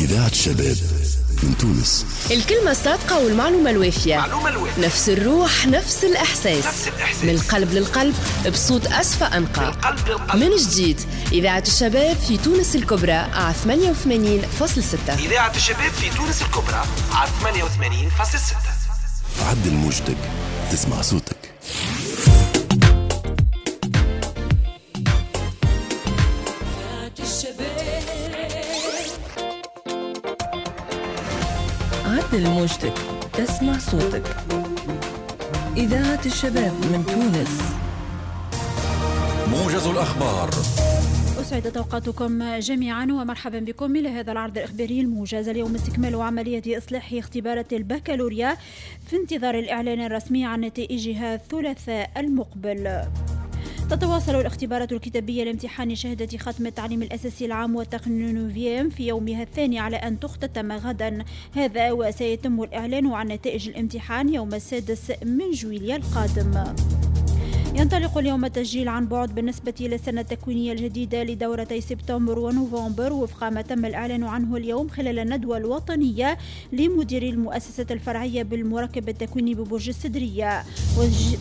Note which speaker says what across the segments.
Speaker 1: إذاعة الشباب من تونس.
Speaker 2: الكلمة الصادقة والمعلومة الوافية، نفس الروح، نفس الإحساس، نفس الإحساس. من القلب للقلب بصوت أصفى أنقى. من جديد إذاعة الشباب في تونس الكبرى على 88.6.
Speaker 3: إذاعة الشباب في تونس الكبرى على 88.6.
Speaker 1: عدل موجتك تسمع صوتك.
Speaker 4: عدل موجتك تسمع صوتك. إذاعة الشباب من تونس.
Speaker 5: موجز الأخبار.
Speaker 6: أسعدت أوقاتكم جميعا ومرحبا بكم إلى هذا العرض الإخباري الموجز. اليوم استكمال عملية إصلاح اختبارات البكالوريا في انتظار الإعلان الرسمي عن نتائجها الثلاثاء المقبل. تتواصل الاختبارات الكتابية لامتحان شهادة ختم التعليم الأساسي العام والتقني neuvième في يومها الثاني على أن تختتم غدا، هذا وسيتم الإعلان عن نتائج الامتحان يوم 6 جويلية القادم. ينطلق اليوم التسجيل عن بعد بالنسبة للسنة التكوينية الجديدة لدورتي سبتمبر ونوفمبر وفق ما تم الإعلان عنه اليوم خلال الندوة الوطنية لمدير المؤسسة الفرعية بالمركب التكويني ببرج السدرية.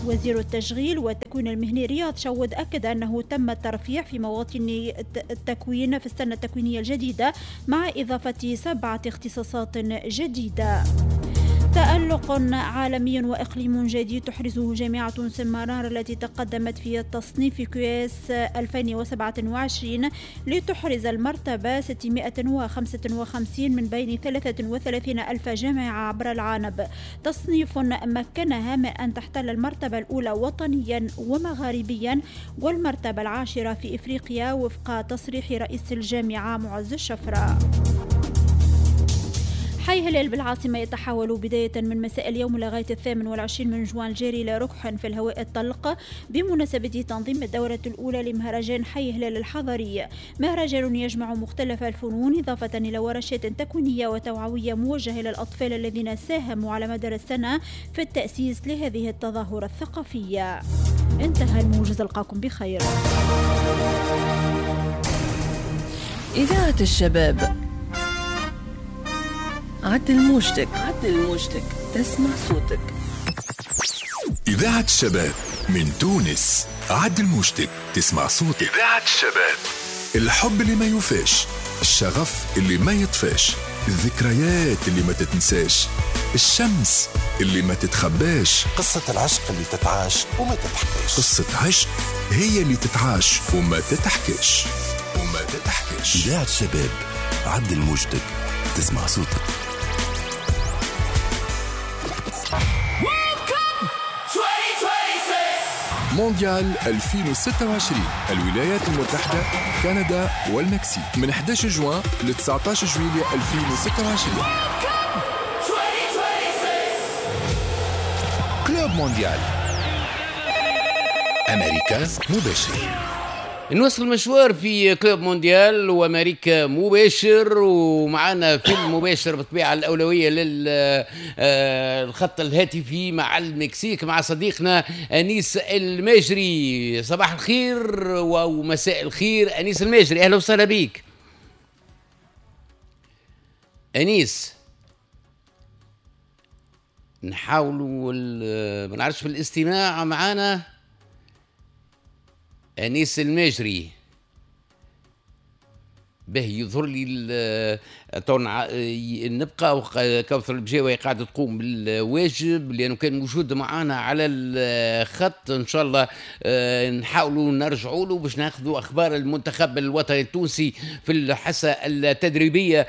Speaker 6: وزير التشغيل والتكوين المهني رياض شود أكد أنه تم الترفيع في مواطن التكوين في السنة التكوينية الجديدة مع إضافة 7 اختصاصات جديدة. تألق عالمي وإقليم جديد تحرزه جامعة سمرار التي تقدمت في التصنيف QS 2027 لتحرز المرتبة 655 من بين 33 ألف جامعة عبر العالم. تصنيف مكنها من أن تحتل المرتبة الأولى وطنيا ومغاربيا والمرتبة العاشرة في إفريقيا وفق تصريح رئيس الجامعة معز الشفرة. حي هلال بالعاصمة يتحول بداية من مساء اليوم لغاية 28 من جوان الجاري إلى ركح في الهواء الطلق بمناسبة تنظيم الدورة الأولى لمهرجان حي هلال الحضري. مهرجان يجمع مختلف الفنون إضافة إلى ورشات تكوينية وتوعوية موجهة للأطفال الذين ساهموا على مدار السنة في التأسيس لهذه التظاهرة الثقافية. انتهى الموجز، ألقاكم بخير.
Speaker 4: إذاعة الشباب. عدل موجتك، عدل موجتك تسمع صوتك.
Speaker 5: إذاعة الشباب من تونس. عدل موجتك تسمع صوتك. إذاعة الشباب. الحب اللي ما يوفاش، الشغف اللي ما يطفاش، الذكريات اللي ما تتنساش، الشمس اللي ما تتخباش،
Speaker 7: قصة العشق اللي تتعاش وما تتحكاش.
Speaker 5: قصة عشق هي اللي تتعاش وما تتحكاش وما تتحكاش.
Speaker 1: إذاعة الشباب، عدل موجتك تسمع صوتك.
Speaker 5: مونديال 2026، الولايات المتحدة، كندا والمكسيك، من 11 جوان ل 19 جويلية 2026. Club Mondial، أمريكا مباشر.
Speaker 8: نوصل المشوار في Club Mondial وامريكا مباشر، ومعنا في المباشر بالطبيعة الاولوية للخط الهاتفي مع المكسيك مع صديقنا انيس الماجري. صباح الخير ومساء الخير انيس الماجري، اهلا وسهلا بك انيس. نحاولوا ما نعرفش في الاستماع معنا أنيس الماجري. به يظهر لي نبقى كوثر البجاوي قاعدة تقوم بالواجب لأنه كان موجود معنا على الخط. إن شاء الله نحاولوا نرجعوا له باش ناخذوا أخبار المنتخب الوطني التونسي في الحصة التدريبية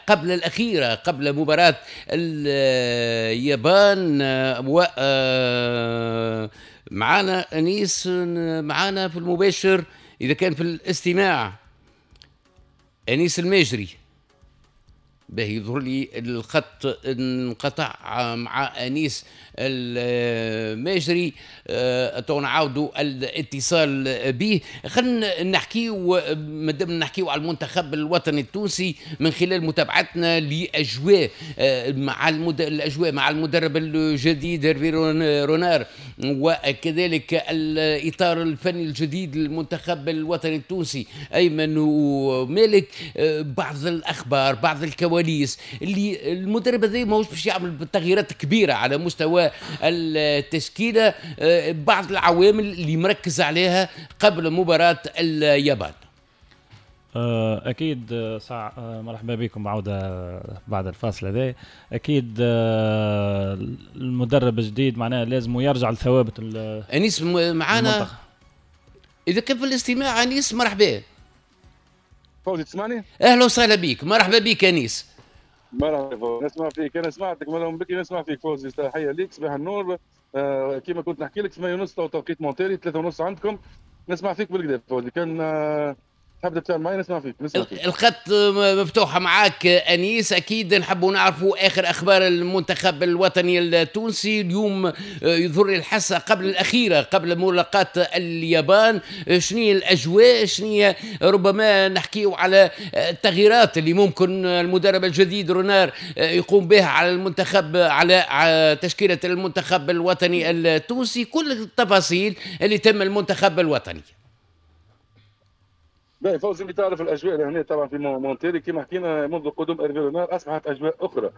Speaker 8: قبل الأخيرة قبل مباراة اليابان. و معنا أنيس معنا في المباشر إذا كان في الاستماع. أنيس الماجري باهي، يظهر لي الخط انقطع مع أنيس الماجري، تو نعاودوا الاتصال به. خلينا نحكيو، مادام نحكيو على المنتخب الوطني التونسي من خلال متابعتنا لاجواء مع الاجواء مع المدرب الجديد هيرفي رونار، وكذلك الاطار الفني الجديد للمنتخب الوطني التونسي ايمن ومالك، بعض الاخبار، بعض الكواليس اللي المدرب هذا ماهوش باش يعمل تغييرات كبيرة على مستوى التشكيلة، بعض العوامل اللي مركز عليها قبل مباراة اليابان.
Speaker 9: اكيد مرحبا بكم عوده بعد الفاصل هذا. اكيد المدرب الجديد معناه لازم يرجع لثوابت.
Speaker 8: انيس معانا اذا كان في الاستماع. انيس مرحبا.
Speaker 10: فوزي تسمعني؟
Speaker 8: اهلا وسهلا بك، مرحبا بك انيس.
Speaker 10: مرحبا فوزي، نسمع فيك، انا سمعتك من بكري نسمع فيك فوزي. تحية ليك، صباح النور. كيما كنت نحكي لك 8:30 توقيت مونتيري، 3:30 عندكم. نسمع فيك بالكدا فوزي، كان تحب تتفاعل معي نسمع فيك. نسمع فيك.
Speaker 8: الخط مفتوحة معاك أنيس. أكيد نحبوا نعرفوا آخر أخبار المنتخب الوطني التونسي اليوم. يظهر الحصة قبل الأخيرة قبل ملاقاة اليابان، شنو هي الأجواء، شنو ربما نحكيو على التغييرات اللي ممكن المدرب الجديد رونار يقوم بها على المنتخب، على تشكيلة المنتخب الوطني التونسي، كل التفاصيل اللي تم المنتخب الوطني.
Speaker 10: باهي فوزي، اللي تعرف الاجواء لهنا طبعا في مونتيري كما حكينا منذ قدوم إيرفي رونار اصبحت اجواء اخرى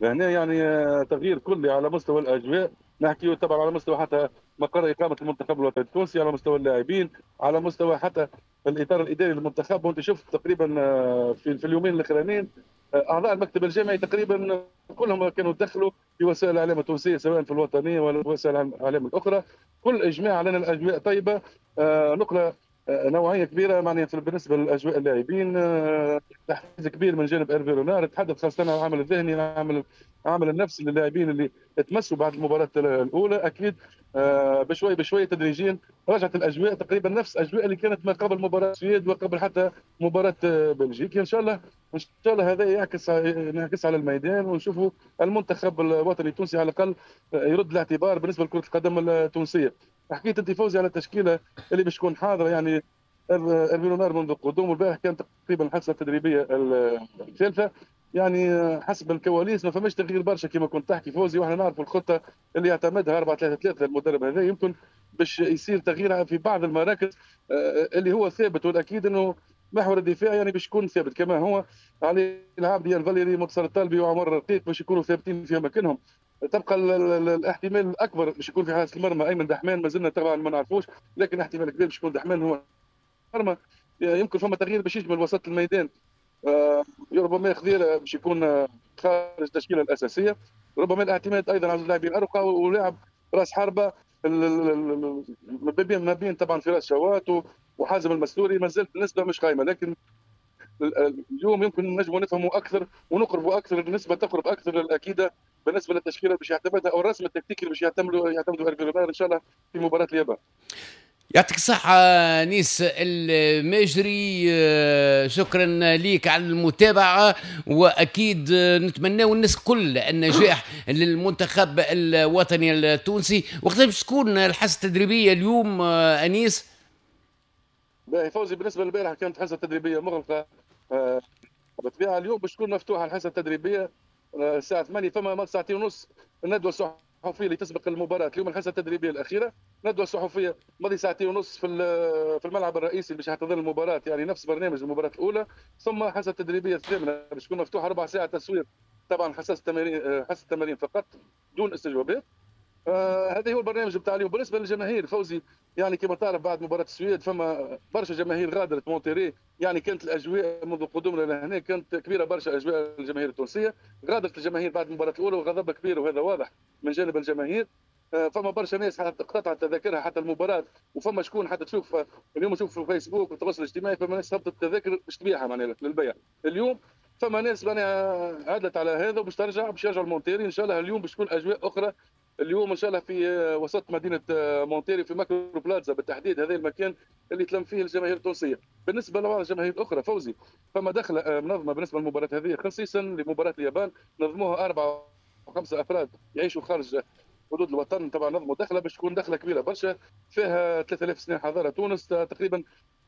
Speaker 10: لهنا، يعني تغيير كلي على مستوى الاجواء. نحكي طبعا على مستوى حتى مقر اقامه المنتخب الوطني التونسي، على مستوى اللاعبين، على مستوى حتى الاطار الاداري للمنتخب. وانت شفت تقريبا في اليومين الاخرانيين اعضاء المكتب الجامعي تقريبا كلهم كانوا دخلوا في وسائل الاعلام التونسية سواء في الوطنية ولا وسائل الاعلام الاخرى، كل اجماع على ان الاجواء طيبة، نقله نوعية كبيرة معناها بالنسبة للاجواء اللاعبين، تحفيز كبير من جانب إيرفي رونار. تحدث خاصة عن العمل الذهني، العمل النفسي للاعبين اللي تمسوا بعد المباراة الاولى. اكيد بشوي بشوي تدريجيا رجعت الاجواء تقريبا نفس الاجواء اللي كانت ما قبل مباراة السويد وقبل حتى مباراة بلجيكا. ان شاء الله ان شاء الله هذا ينعكس على الميدان، ونشوفوا المنتخب الوطني التونسي على الاقل يرد الاعتبار بالنسبة لكرة القدم التونسية. حكيت انت فوزي على التشكيلة اللي باش تكون حاضره، يعني إيرفي رونار منذ قدومه البارح كان تقريبا الحصة التدريبية الثالثة، يعني حسب الكواليس ما فماش تغيير برشا كما كنت تحكي فوزي، واحنا نعرفوا الخطة اللي يعتمدها 4-3-3 المدرب هذا، يمكن باش يصير تغيير في بعض المراكز اللي هو ثابت، والاكيد انه محور الدفاع يعني باش يكون ثابت كما هو، علي العابدي الفاليري منتصر الطالبي وعمر الرقيق باش يكونوا ثابتين في اماكنهم. تبقى الاحتمال الاكبر باش يكون في حارس المرمى ايمن دحمان، ما زلنا طبعا ما نعرفوش، لكن احتمال كبير باش يكون دحمان هو المرمى. يمكن فما تغيير باش يشمل وسط الميدان، ربما خضيره باش يكون خارج التشكيلة الاساسية، ربما الاعتماد ايضا على اللاعبين الارقى ولاعب راس حربه ما بين طبعا فراس شوات وحازم المستوري. ما زالت النسبة مش قايمة، لكن اليوم يمكن نجموا نفهموا اكثر ونقربوا اكثر، النسبة تقرب اكثر للاكيده بالنسبة للتشكيله باش يعتمدها او الرسم التكتيكي اللي باش يعتمدوا إيرفي رونار ان شاء الله في مباراة اليابان.
Speaker 8: يعطيك الصحة نيس الماجري، شكرا ليك على المتابعة، وأكيد نتمناو الناس كل النجاح للمنتخب الوطني التونسي. وقتاش باش تكون الحصة التدريبية اليوم أنيس؟
Speaker 10: باهي فوزي، بالنسبة للبارح كانت حصة تدريبية مغلقة بالطبيعة، اليوم باش تكون مفتوحة الحصة التدريبية الساعة 8، فما 2:30 الندوة الصحفية اللي تسبق المباراة. اليوم الحصة التدريبية الأخيرة، ندوة صحفية ماضي 2:30 في الملعب الرئيسي اللي باش يحتضن المباراة، يعني نفس برنامج المباراة الأولى، ثم حصة التدريبية الثامنة باش تكون مفتوحة ربع ساعة تصوير، طبعا حصة التمارين فقط دون استجوابات. هذا هو البرنامج بتاع اليوم. بالنسبة للجماهير فوزي، يعني كما تعرف بعد مباراة السويد فما برشا جماهير غادرت مونتيري، يعني كانت الاجواء منذ قدومنا لهنا كانت كبيرة برشا اجواء الجماهير التونسية. غادرت الجماهير بعد المباراة الاولى وغضب كبير، وهذا واضح من جانب الجماهير. فما برشا ناس حتى قطعت تذاكرها حتى المباراة، وفما شكون حتى تشوف اليوم تشوف في الفيسبوك والتواصل الاجتماعي فما ناس هبطت التذاكر باش تبيعها معناها للبيع. اليوم فما ناس معناها عدلت على هذا وباش ترجع، باش يرجعوا المونتيري ان شاء الله. اليوم باش تكون اجواء اخرى اليوم ان شاء الله في وسط مدينة مونتيري في ماكرو بلازا بالتحديد، هذا المكان اللي تلم فيه الجماهير التونسية. بالنسبة لبعض الجماهير الاخرى فوزي، فما دخله منظمة بالنسبة للمباراة هذه، خصيصا لمباراة اليابان، نظموها 4 و 5 افراد يعيشوا خارج حدود الوطن. طبعا نظموا دخله باش تكون دخله كبيرة برشا، فيها 3000 سنة حضارة تونس تقريبا،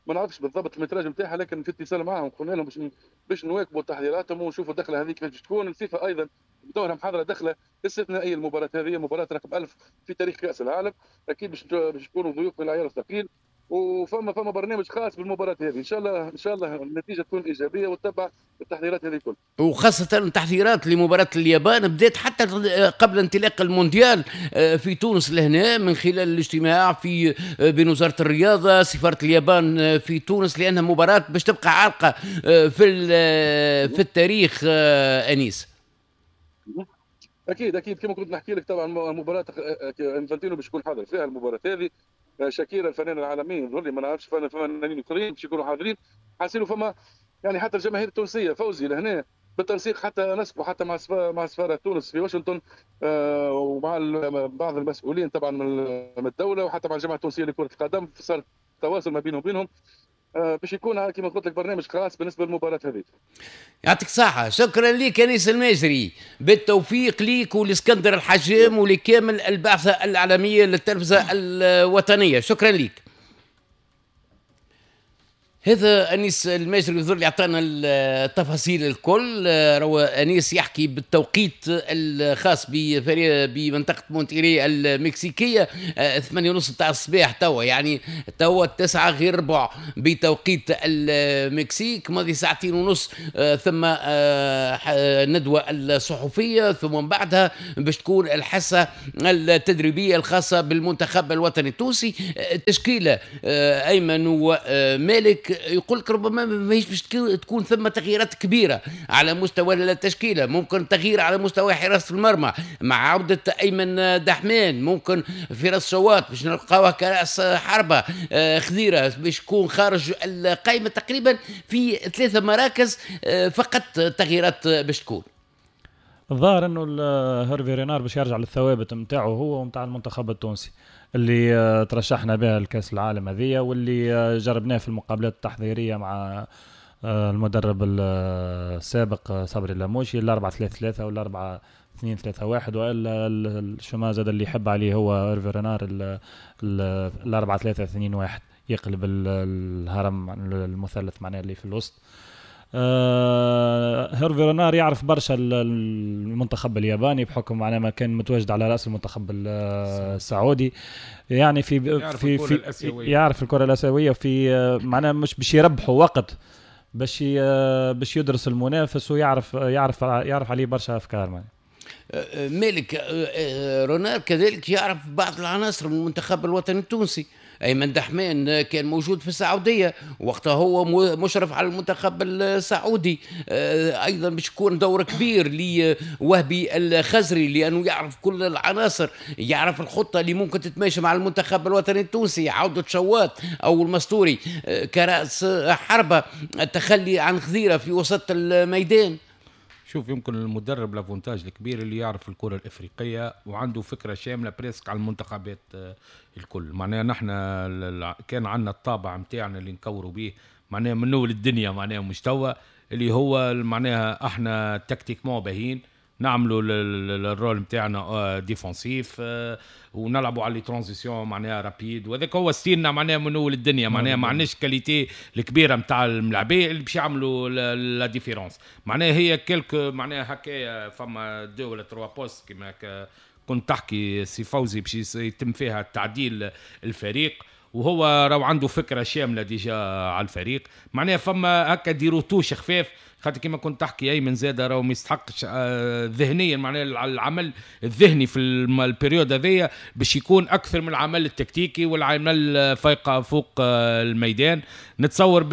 Speaker 10: ما نعرفش بالضبط ال métrage نتاعها، لكن في اتصال معهم قلنا لهم باش نواكبوا تحضيراتهم ونشوفوا الدخلة هذه كيفاش تكون. الفيفا ايضا بدورها محاضرة دخله استثنائية المباراة هذه، مباراة رقم 1000 في تاريخ كاس العالم، اكيد باش يكونوا ضيوف من العيار الثقيل، وفما برنامج خاص بالمباراة هذه. ان شاء الله ان شاء الله النتيجة تكون ايجابية وتتبع التحضيرات هذه الكل،
Speaker 8: وخاصة التحضيرات لمباراة اليابان بدات حتى قبل انطلاق المونديال في تونس لهنا، من خلال الاجتماع في بين وزارة الرياضة، سفارة اليابان في تونس، لانها مباراة باش تبقى عالقة في التاريخ. انيس،
Speaker 10: اكيد اكيد كما كنت نحكي لك، طبعا مباراة انفانتينو باش يكون حاضر فيها المباراة هذه، شاكيرا الفنان العالمي يظهر لي، ما نعرفش فنانين اخرين باش يكونوا حاضرين. حاسينوا فما يعني حتى الجماهير التونسية فوزي لهنا بالتنسيق، حتى نسقوا حتى مع سفارة تونس في واشنطن، ومع بعض المسؤولين طبعا من الدولة، وحتى مع الجامعة التونسية لكرة القدم، صار تواصل ما بينهم وبينهم باش يكون كما قلت لك برنامج خاص بالنسبة للمباراة هذه.
Speaker 8: يعطيك الصحة، شكرا لك انيس الماجري، بالتوفيق ليك ولاسكندر الحجام ولكامل البعثة الاعلامية للتلفزه الوطنية، شكرا لك. هذا انيس الماجري يظهر لي اعطانا التفاصيل الكل. روى انيس يحكي بالتوقيت الخاص بمنطقة مونتيري المكسيكيه، 8:30 تاع الصباح توا، يعني توا 8:45 بتوقيت المكسيك، ماضي 2:30 ثم ندوه الصحفية، ثم من بعدها باش تكون الحصة التدريبية الخاصة بالمنتخب الوطني التونسي. تشكيله ايمن ومالك يقول لك ربما ماهيش باش تكون ثم تغييرات كبيرة على مستوى التشكيلة، ممكن تغيير على مستوى حراسة المرمى مع عوده ايمن دحمان، ممكن فراس شواط باش نلقاوه كراس حربه، خضيره باش يكون خارج القائمة. تقريبا في 3 مراكز فقط تغييرات باش تكون.
Speaker 9: الظاهر انه هيرفي رينار باش يرجع للثوابت نتاعو هو ونتاع المنتخب التونسي اللي ترشحنا بها لكاس العالم هذيا، واللي جربناه في المقابلات التحضيريه مع المدرب السابق صبري اللاموشي، 4-3-3 ولا 4-2-3-1، والا ال schéma زاد اللي يحب عليه هو هيرفي رينار 4-3-2-1، يقلب الهرم المثلث معناه اللي في الوسط. هيرفي رينار يعرف برشا المنتخب الياباني بحكم معناه ما كان متواجد على رأس المنتخب السعودي، يعني في في في يعرف الكرة الآسيوية، في معناه مش باش يربحوا وقت، باش يدرس المنافس ويعرف يعرف يعرف عليه برشا أفكار. معناه
Speaker 8: مالك رونار كذلك يعرف بعض العناصر من المنتخب الوطني التونسي. أيمن دحمان كان موجود في السعودية وقتها هو مشرف على المنتخب السعودي، أيضا باش يكون دور كبير لوهبي الخزري لأنه يعرف كل العناصر، يعرف الخطة اللي ممكن تتماشى مع المنتخب الوطني التونسي، عودة شواط أو المستوري كرأس حربة، التخلي عن خضيرة في وسط الميدان.
Speaker 11: شوف، يمكن المدرب l'avantage الكبير اللي يعرف الكرة الإفريقية وعنده فكرة شاملة presque على المنتخبات الكل. معناها نحن كان عندنا الطابع متاعنا اللي نكوروا به معناها من أول الدنيا، معناها مش توا اللي هو معناها احنا tactiquement باهين، نعملوا ال rôle نتاعنا défensif ونلعبوا على les transitions معناها rapides، وهذاك هو style نا معناها من اول الدنيا. معناها ما عندناش qualité الكبيرة نتاع الملاعبيه اللي باش يعملوا la différence. معناها هي quelques معناها هكايا فما deux ولا trois postes كيما كنت تحكي سي فوزي باش يتم فيها تعديل الفريق، وهو راهو عنده فكرة شاملة déjà على الفريق. معناها فما هكا des retouches خفاف، خاطر كما كنت تحكي ايمن زاد راهو ما يستحقش ذهنيا، معناها العمل الذهني في ال période هذيا باش يكون اكثر من العمل التكتيكي والعمل فايقه فوق الميدان. نتصور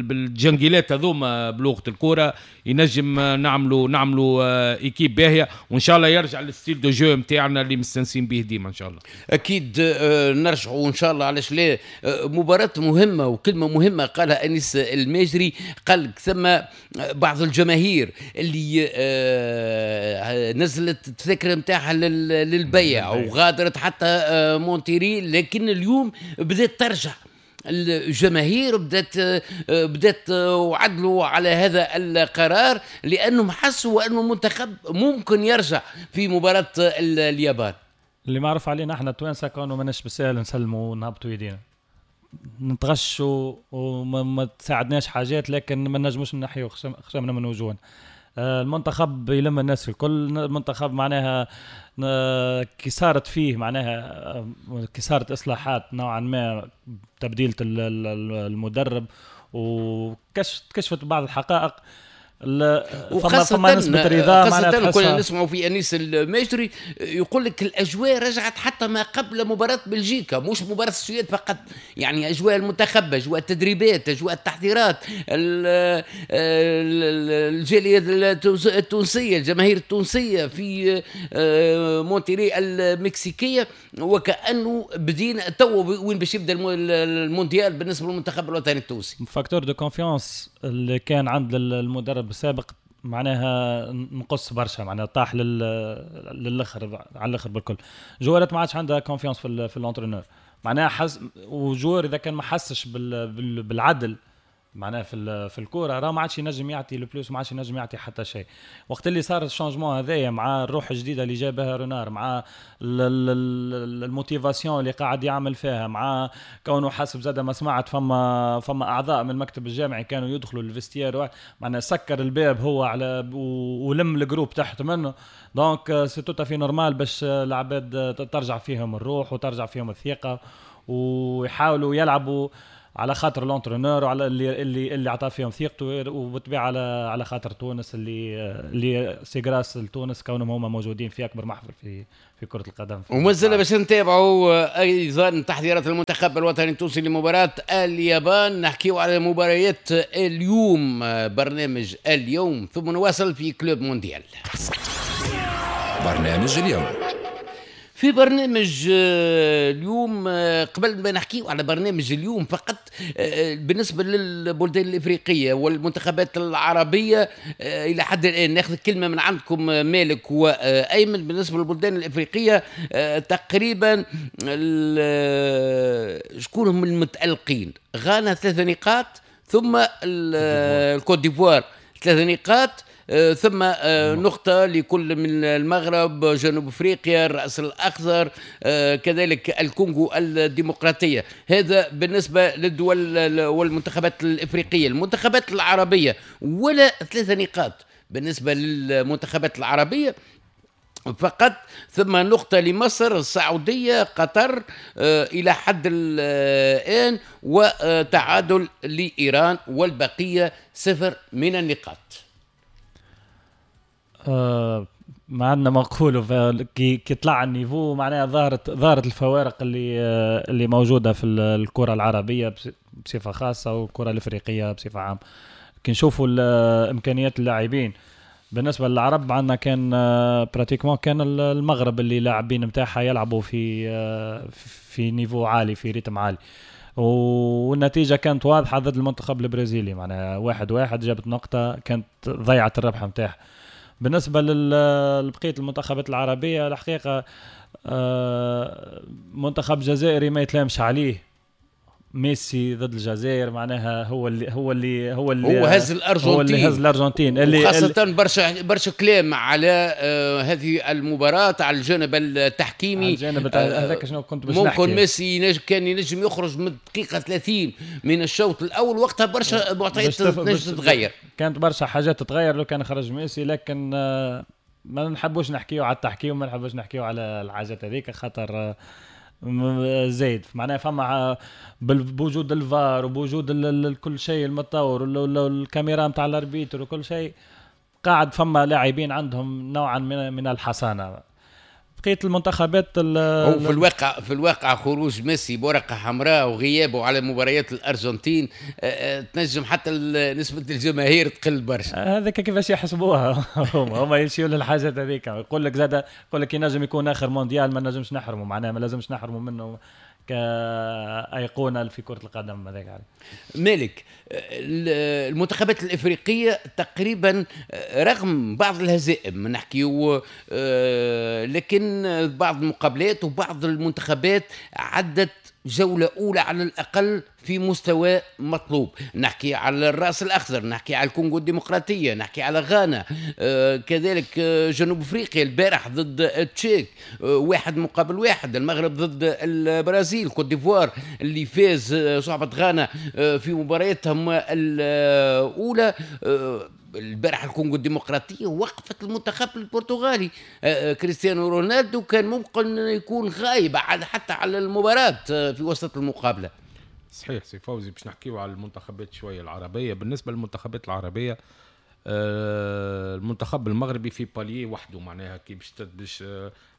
Speaker 11: بالجنجيلات هذوما بلغه الكورة ينجم نعملوا équipe باهيه، وان شاء الله يرجع لل style de jeu نتاعنا اللي مستنسين به ديما ان شاء الله.
Speaker 8: اكيد نرجعوا ان شاء الله، علاش لا، مباراة مهمة وكلمه مهمة قالها انيس الماجري، قال ثم ثم بعض الجماهير اللي نزلت التذاكر نتاعها للبيع وغادرت حتى مونتيري، لكن اليوم بدأت ترجع الجماهير، بدات وعدلوا على هذا القرار لانهم حسوا انه المنتخب ممكن يرجع في مباراة اليابان.
Speaker 9: اللي معروف علينا احنا التوانسة كانوا ماناش بالسهل نسلموا ونهبطوا يدينا، نتغشوا وما تساعدناش حاجات، لكن ما نجموش نحيوا خشمنا من وجوهنا. المنتخب يلم الناس الكل، المنتخب معناها كي صارت فيه معناها كي صارت اصلاحات نوعا ما، تبديلة المدرب وكشفت بعض الحقائق، فما نسبة رضا.
Speaker 8: خاصة كنا نسمعوا في أنيس الماجري يقول لك الأجواء رجعت حتى ما قبل مباراة بلجيكا، مش مباراة السويد فقط، يعني أجواء المنتخب، أجواء التدريبات، أجواء التحضيرات، الجالية التونسية، الجماهير التونسية في مونتيري المكسيكية، وكأنه بدينا تو وين باش يبدأ المونديال بالنسبة للمنتخب الوطني التونسي.
Speaker 9: facteur de confiance اللي كان عند المدرب السابق معناها نقص برشا، معناها طاح للاخر على الاخر بالكل. جوارات ما عادش عندها confiance في l'entraîneur، معناها حس، و joueur اذا كان ما حسش بالعدل معناها في الكورة راه ما عادش ينجم يعطي le plus، ما عادش ينجم يعطي حتى شيء. وقت اللي صار ال changement هذايا مع الروح الجديدة اللي جابها رونار، مع ال motivation اللي قاعد يعمل فيها، مع كونه حسب زاد ما سمعت فما اعضاء من المكتب الجامعي كانوا يدخلوا ال vestiaire، معناها سكر الباب هو على ولم ال groupe تحت منه. donc c'est tout à fait normal باش العباد ترجع فيهم الروح وترجع فيهم الثقة ويحاولوا يلعبوا على خاطر l'entraîneur وعلى اللي عطى فيهم ثقته، وبالطبيعه على خاطر تونس اللي c'est grâce لتونس كونهم هما موجودين في اكبر محفل في كره القدم.
Speaker 8: ومازلنا باش نتابعوا ايضا تحضيرات المنتخب الوطني التونسي لمباراة اليابان، نحكيو على مباريات اليوم، برنامج اليوم، ثم نواصل في Club Mondial.
Speaker 5: برنامج اليوم.
Speaker 8: في برنامج اليوم، قبل ما نحكيه على برنامج اليوم فقط، بالنسبة للبلدان الإفريقية والمنتخبات العربية إلى حد الآن ناخذ كلمة من عندكم مالك وأيمن. بالنسبة للبلدان الإفريقية تقريبا شكون هم المتألقين؟ غانا 3 نقاط، ثم الكوت ديفوار 3 نقاط، ثم نقطة لكل من المغرب، جنوب أفريقيا، الرأس الأخضر، كذلك الكونغو الديمقراطية. هذا بالنسبة للدول والمنتخبات الإفريقية. المنتخبات العربية ولا 3 نقاط بالنسبة للمنتخبات العربية فقط، ثم نقطة لمصر، السعودية، قطر إلى حد الآن، وتعادل لإيران، والبقية 0 من النقاط.
Speaker 9: ما عندنا ما نقوله. كي طلع ال niveau معناها ظهرت الفوارق اللي موجودة في الكره العربية بصفة خاصة والكره الافريقية بصفة عامة. كي نشوفوا امكانيات اللاعبين بالنسبة للعرب، عندنا كان pratiquement كان المغرب اللي لاعبين نتاعها يلعبوا في niveau عالي، في rythme عالي، والنتيجة كانت واضحة ضد المنتخب البرازيلي، معناها 1-1 جابت نقطة كانت ضيعت الربح نتاعها. بالنسبة لبقية المنتخبات العربية الحقيقة منتخب جزائري ما يتلامش عليه. ميسي ضد الجزائر معناها هو اللي هو
Speaker 8: هز الأرجنتين،
Speaker 9: هو اللي هز الأرجنتين، اللي
Speaker 8: خاصة برشا كلام على هذه المباراة على الجانب التحكيمي.
Speaker 9: الجانب هذاك شنو كنت باش نحكي،
Speaker 8: ممكن ميسي كان ينجم يخرج من دقيقة 30 من الشوط الأول، وقتها برشا معطيات تنجم تتغير،
Speaker 9: كانت برشا حاجات تتغير لو كان خرج ميسي. لكن ما نحبوش نحكيو على التحكيم، ما نحبوش نحكيو على الحاجات هذيك خاطر زايد معناها فما بوجود الفار وبوجود كل شيء المتطور والكاميرا نتاع ال arbitre وكل شيء، قاعد فما لاعبين عندهم نوعا من الحصانة. بقية المنتخبات
Speaker 8: هو في الواقع خروج ميسي بورقه حمراء وغيابه على مباريات الارجنتين تنجم حتى نسبه الجماهير تقل برشا.
Speaker 9: هذاك كيفاش يحسبوها هما يمشيوا للحاجات هذيك. يقول لك زاد، يقول لك ينجم يكون اخر مونديال، ما نجمش نحرمه، معناها ما لازمش نحرمه منه. كأيقونة في كرة القدم. هذاك عليه.
Speaker 8: مالك، المنتخبات الإفريقية تقريبا رغم بعض الهزائم نحكيو، لكن بعض المقابلات وبعض المنتخبات عدت جولة أولى على الأقل في مستوى مطلوب. نحكي على الرأس الأخضر، نحكي على الكونغو الديمقراطية، نحكي على غانا، كذلك جنوب أفريقيا البارح ضد التشيك 1-1، المغرب ضد البرازيل، كوت ديفوار اللي فاز صعبة غانا في مباراتهم الأولى. البارح الكونغو الديمقراطية وقفت المنتخب البرتغالي، كريستيانو رونالدو كان ممكن يكون غايب حتى على المباراة في وسط المقابلة.
Speaker 11: صحيح سي فوزي، باش نحكيو على المنتخبات شوية العربية. بالنسبة للمنتخبات العربية، المنتخب المغربي في palier وحده، معناها كي باش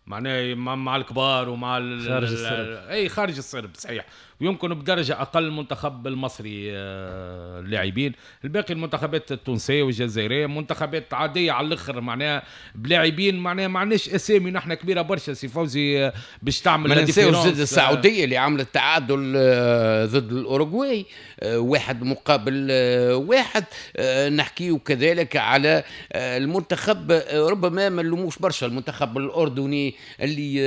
Speaker 11: معناها مع الكبار ومع
Speaker 9: خارج السرب،
Speaker 11: اي خارج السرب صحيح، ويمكن بدرجة اقل المنتخب المصري اللاعبين. الباقي المنتخبات التونسية والجزائريه منتخبات عادية على الاخر، معناها بلاعبين معناها ما عندناش اسامي نحن كبيرة برشا سي فوزي باش تعمل.
Speaker 8: ما ننساوش ضد السعودية اللي عملت تعادل ضد الاوروغواي 1-1. نحكيو كذلك على المنتخب، ربما ما نلوموش برشا المنتخب الاردني اللي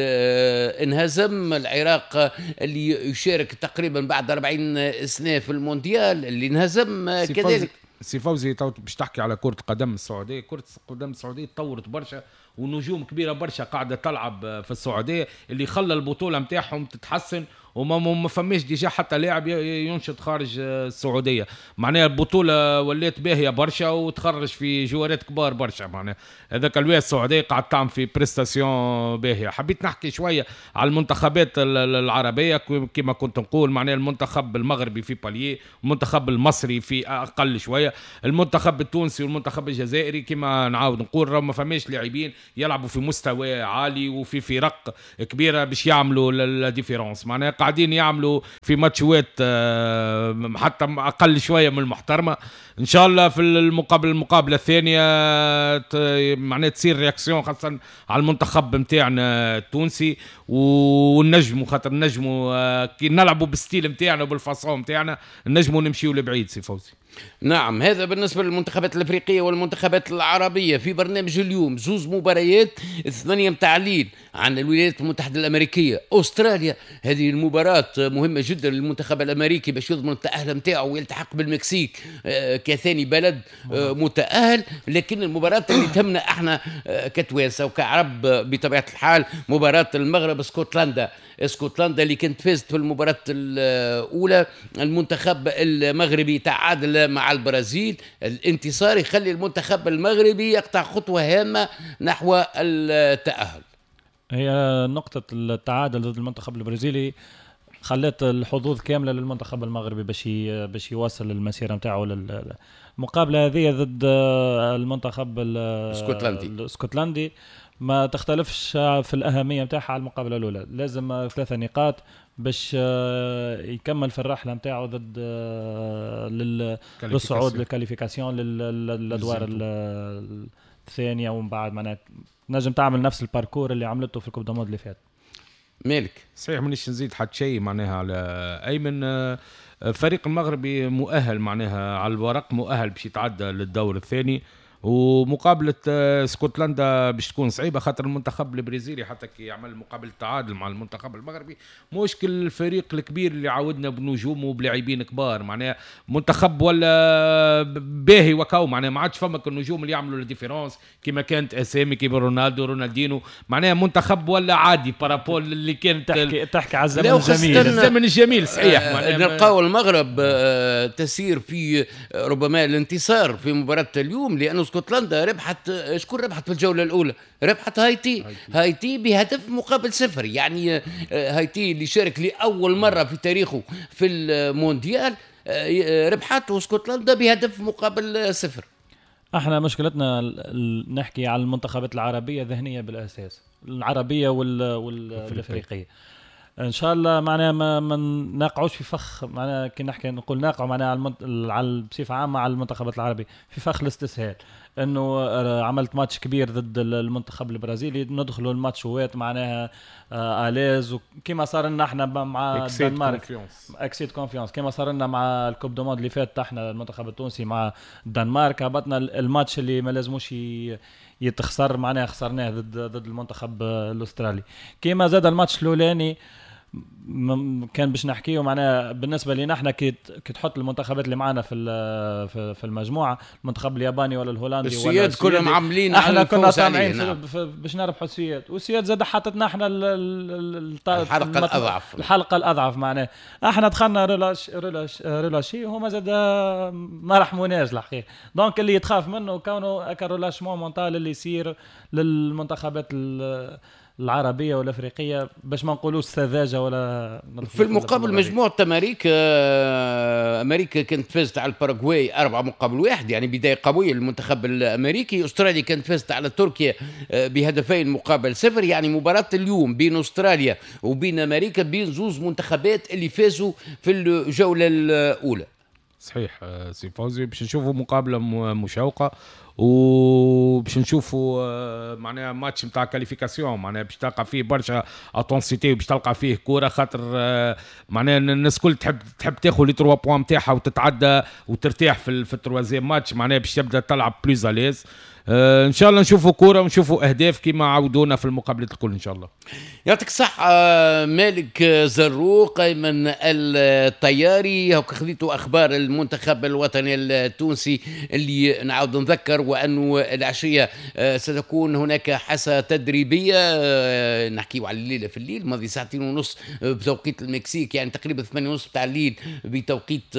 Speaker 8: انهزم، العراق اللي يشارك تقريبا بعد 40 سنة في المونديال اللي انهزم كذلك.
Speaker 11: سي فوزي باش تحكي على كرة القدم السعودية، كرة القدم السعودية تطورت برشا ونجوم كبيرة برشا قاعدة تلعب في السعودية، اللي خلى البطولة متاعهم تتحسن، وما فماش déjà حتى لاعب ينشط خارج السعودية. معناها البطولة ولات باهيه برشا وتخرج في جوارات كبار برشا، معناها هذاك الوقت السعودية قاعد تعمل في prestation باهيه. حبيت نحكي شوية على المنتخبات العربية كما كنت نقول، معناها المنتخب المغربي في palier، المنتخب المصري في اقل شوية، المنتخب التونسي والمنتخب الجزائري كما نعاود نقول راه ما فماش لاعبين يلعبوا في مستوى عالي وفي فرق كبيرة باش يعملوا la différence، معناها قاعدين يعملوا في ماتشوات حتى اقل شوية من المحترمة. ان شاء الله في المقابلة الثانية معناها تصير réaction خاصة على المنتخب نتاعنا التونسي، ونجموا خاطر نجموا كي نلعبوا بال style نتاعنا وبال façon نتاعنا نجموا نمشيوا لبعيد سي فوزي.
Speaker 8: نعم، هذا بالنسبة للمنتخبات الأفريقية والمنتخبات العربية. في برنامج اليوم زوز مباريات، 8 متاع الليل عن الولايات المتحدة الأمريكية أستراليا. هذه المباراة مهمة جدا للمنتخب الأمريكي باش يضمن التأهل متاعه ويلتحق بالمكسيك كثاني بلد متأهل. لكن المباراة اللي تهمنا احنا كتوانسة وكعرب بطبيعة الحال مباراة المغرب اسكتلندا. اسكتلندا اللي كانت فازت في المباراة الأولى، المنتخب المغربي تعادل مع البرازيل. الانتصار يخلي المنتخب المغربي يقطع خطوة هامة نحو التأهل.
Speaker 9: هي نقطة التعادل ضد المنتخب البرازيلي خلت الحظوظ كاملة للمنتخب المغربي باش يواصل المسيرة نتاعو. المقابلة هذه ضد المنتخب الاسكتلندي ما تختلفش في الأهمية نتاعها على المقابلة الأولى. لازم 3 نقاط باش يكمل في الرحلة نتاعو ضد للصعود لل qualification للأدوار الثانية، ومن بعد معناها نجم تعمل نفس ال parcours اللي عملته في ال coupe du monde اللي فات.
Speaker 8: مالك
Speaker 11: صحيح، مانيش نزيد حتى شيء معناها على أيمن. فريق المغربي مؤهل معناها على الورق، مؤهل باش يتعدى للدور الثاني، ومقابلة اسكتلندا باش تكون صعيبة خاطر المنتخب البرازيلي حتى كي يعمل مقابلة تعادل مع المنتخب المغربي مش كل الفريق الكبير اللي عودنا بنجومه وبلاعبين كبار، معناها منتخب ولا باهي وكاو، معناها ما عادش فما النجوم اللي يعملوا la différence كيما كانت اسامي كيما رونالدو رونالدينو، معناها منتخب ولا عادي par rapport اللي كانت
Speaker 9: تحكي على الزمن الجميل،
Speaker 11: الزمن الجميل صحيح.
Speaker 8: نلقاو المغرب تسير في ربما الانتصار في مباراة اليوم، لأنه اسكتلندا ربحت، شكون ربحت في الجولة الأولى؟ ربحت هايتي، هايتي بهدف مقابل 0. يعني هايتي اللي شارك لأول مرة في تاريخه في المونديال ربحت اسكتلندا بهدف مقابل 0.
Speaker 9: احنا مشكلتنا نحكي على المنتخبات العربية ذهنية بالأساس، العربية والأفريقية. ان شاء الله معناها ما نقعوش في فخ، معناها كي نحكي نقول نقعوا معناها على بصفة عامة على المنتخبات العربية في فخ الاستسهال، انه عملت ماتش كبير ضد المنتخب البرازيلي ندخلوا الماتشوات معناها à l'aise، وكما صار لنا احنا مع الدنمارك excès de confiance، كما صار لنا مع ال coupe du monde اللي فات احنا المنتخب التونسي مع الدنمارك هبطنا الماتش اللي ما لازموش يتخسر معناها خسرناه ضد المنتخب الاسترالي. كما زاد الماتش الاولاني كان باش نحكيه معناها بالنسبة لنا احنا كي تحط المنتخبات اللي معنا في المجموعة، المنتخب الياباني ولا الهولندي
Speaker 8: ولا السويد كلهم عاملين،
Speaker 9: احنا كنا طامعين نعم. باش نربحوا السويد، والسويد زاد حطتنا احنا
Speaker 8: الحلقة الاضعف،
Speaker 9: الحلقة الاضعف معناها احنا دخلنا relâché وهما زاد ما رحموناش الحقيقة. donc اللي يتخاف منه كونه هكا relâchement mental اللي يصير للمنتخبات العربية والأفريقية، باش ما نقولوش سذاجة ولا.
Speaker 8: في المقابل مجموعة أمريكا، أمريكا كانت فازت على الباراغواي 4-1، يعني بداية قوية للمنتخب الأمريكي. أستراليا كانت فازت على تركيا ب2-0، يعني مباراة اليوم بين أستراليا وبين أمريكا بين زوز منتخبات اللي فازوا في الجولة الأولى.
Speaker 11: صحيح سي فوزي، باش نشوفوا مقابلة مشوقة، وباش نشوفوا معناها ماتش نتاع qualification، معناها باش تلقى فيه برشا intensité وباش تلقى فيه كورة، خاطر معناها الناس الكل تحب تاخذ les 3 points نتاعها وتتعدى وترتاح في ال troisième match، معناها باش تبدا تلعب plus à l'aise. ان شاء الله نشوفوا كورة ونشوفوا اهداف كما عودونا في المقابلات الكل ان شاء الله.
Speaker 8: يعطيك الصحة مالك زروق، ايمن الطياري، هوك خذيتوا اخبار المنتخب الوطني التونسي اللي نعاود نذكر وانه العشية ستكون هناك حصة تدريبية، نحكيو على الليلة في الليل ماضي 2:30 بتوقيت المكسيك، يعني تقريبا 8:30 بتاع الليل بتوقيت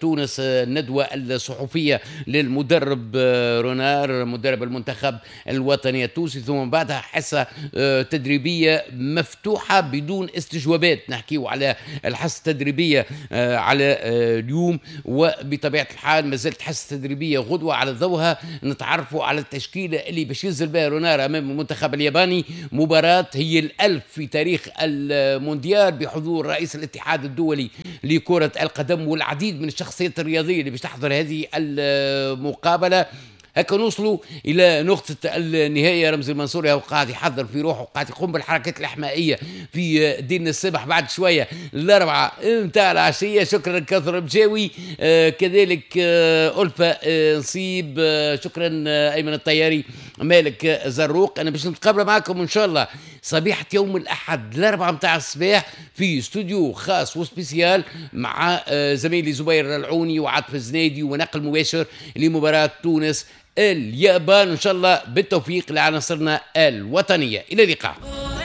Speaker 8: تونس، الندوة الصحفية للمدرب رونار مدرب المنتخب الوطني التونسي، ثم بعدها حصة تدريبية مفتوحة بدون استجوابات. نحكيو على الحصة التدريبية على اليوم، وبطبيعة الحال ما زالت حصة تدريبية غدوة على ضوءها نتعرفوا على التشكيلة اللي باش ينزل بها رونار أمام المنتخب الياباني، مباراة هي الألف في تاريخ المونديال بحضور رئيس الاتحاد الدولي لكرة القدم والعديد من الشخصيات الرياضية اللي باش تحضر هذه المقابلة. هكا نوصلوا الى نقطة النهاية. رمزي المنصوري هو قاعد يحضر في روحه وقاعد يقوم بالحركات الاحمائيه في دين السبح بعد شوية 4 متاع العشية. شكرا كثر بجاوي، كذلك ألفة نصيب، شكرا ايمن الطياري، مالك زروق. انا باش نتقابل معكم ان شاء الله صبيحة يوم الاحد 4 متاع الصباح في استوديو خاص و spécial مع زميلي زبير العوني وعاطف الزنادي، ونقل مباشر لمباراة تونس اليابان. إن شاء الله بالتوفيق لعناصرنا الوطنية. إلى اللقاء.